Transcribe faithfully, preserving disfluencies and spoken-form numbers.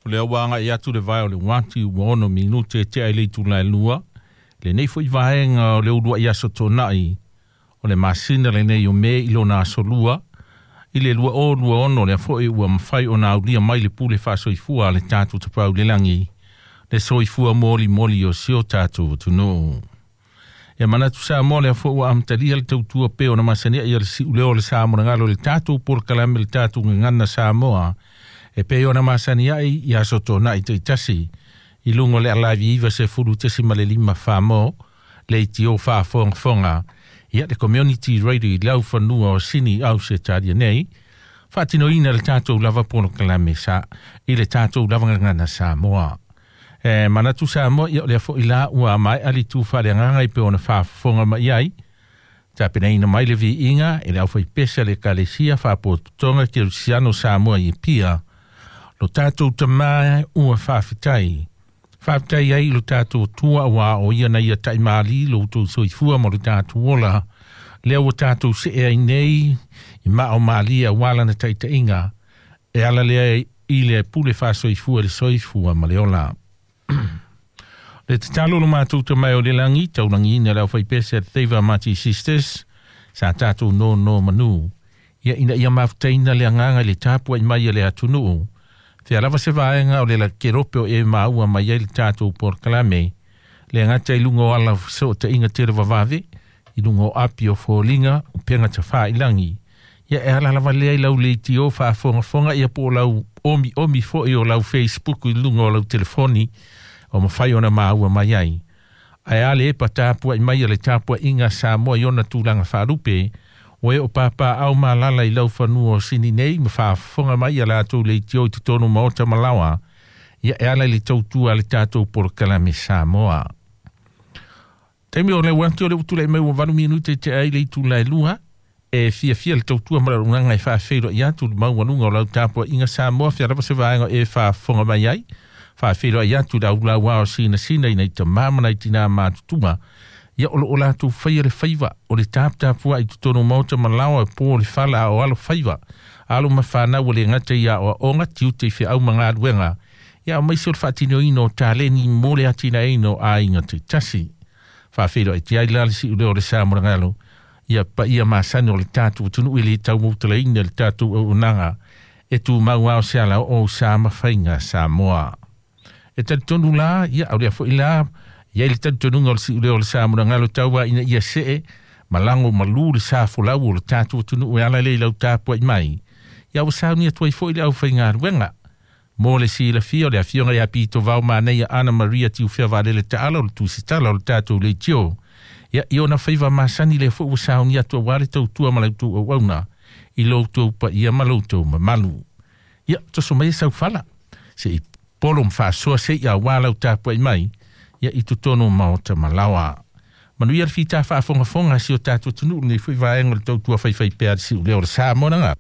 O lea ua agai atu le vae o le uati ua ono minute e tea i le itula e lua. Lenei foi vaega o le uluai aso Toonai o le masina lenei o Me i lona aso lua i le lua o lua ono, lea foi ua mafai ona aulia mai le pule faasoifua a le tatou Tapaau i le lagi, le soifua molimoli o si o tatou atunuu. Ia manatu Samoa, lea foi ua amatalia le tautua pe ona masani ai le siuleo o le Sa monagalo le tatou polokalame, le tatou gagana Samoa e pei ona masani ai i aso Toonai taitasi i luga o le alaivi iva sefulu tesi ma le lima Samoa leitio faafogafoga, ia le community radio i laufanua o Sini Ausetalia nei, faatinoina le tatou lava polokalame sa i le tatou lava gagana Samoa. E manatu Samoa, ia o lea foi la ua maea le tu faaleagaga i pe ona faafofoga mai ai, tapenaina mai le viiga e le aufaipese a le Ekalesia Faapotopotoga Kerisiano Samoa i Apia. Lo tatou Tamā ua faafetai. Faafetai ai lo tatou Atua ua o ia na ia taimālī lo outou soifua ma lo tatou ola. Lea ua tatou see ai nei i maa o malie auā lana taitaiga e ala lea i le pule faasoifua, le soifua ma le ola. Le tatalo, lo matou Tamai o le lagi, taulagiina le aufaipese a Teiva Mati Sisters sa tatou nonomanu, ia ina ia mafutaina le agaga i le tapuai mai a le atunuu. Fea lava se vaega o le la kerope o e maua mai ai le tatou polokalame, le gata i luga o ala fesootaiga televavave, i luga o api o foliga upega tafailagi, ia e ala lava lea i lau leitio faafogafoga, ia po o lau omi omi foi o lau Facebook i luga o lau telefoni o mafai ona maua mai ai. Ae a le epa tapuai mai a le tapuaiga Samoa i ona tulaga faalupe, o e o papaaao ma alaala i laufanua o Sini nei ma faafofoga mai a latou leitio i totonu maota ma laoa, ia e ala i le tautua a le tatou polokalame Samoa. Taimi o le uati o le utulai mai ua valu minute te ai le itula e lua, e fiafia le tautua ma le auaunaga e faafeiloai atu le maualuga o lau tapuaiga Samoa, fea lava se vaega e faafofoga mai ai, faafeiloai atu le aulauā o sinasina i nai tamā ma nai tinā matutua, ia o loo latou faia le faiva o le taputapuai i totonu maota ma laoa e po le fala a o alo faiva alo ma fanau, o le gata ia aoaoga, tiute i feau ma galuega, ia aemaise o le faatinoina o taleni mo le atinaeina o aiga taitasi. Faafeiloai tiai la le siuleo o le sa molagalo, ia paia masani o le tatou atunuu i le taumautalaina le tatou auaunaga e tumau ao se ala o sa mafaiga Samoa. E talitonu la, ia o lea foi la ia i le talitonuga o le siuleo o le sa molagalo, taua ina ia see ma lago malu le sa folau o le tatou atunuu e ala lea i lau tapuai mai. Ia ua sauni atu ai foi le aufaigaluega. Mo le silafia, o le afioga ia Pito Vao Manaia Ana Maria Tiufea Vaalele Taala o le tusitala o le tatou leitio. Ia i ona faiva masani lea foi ua sauni atu auā le tautua ma lau outou auauna i lo outou paia ma lo outou mamalu. Ia toso mai saufala se i polo ma faasoa se i auā lau tapuai mai ia i totonu maota ma laoa. Manuia le fita faafogafoga si o tatou atunuu nei foi vaega o le tautua faifaipea a le siuleo o le sa monaga.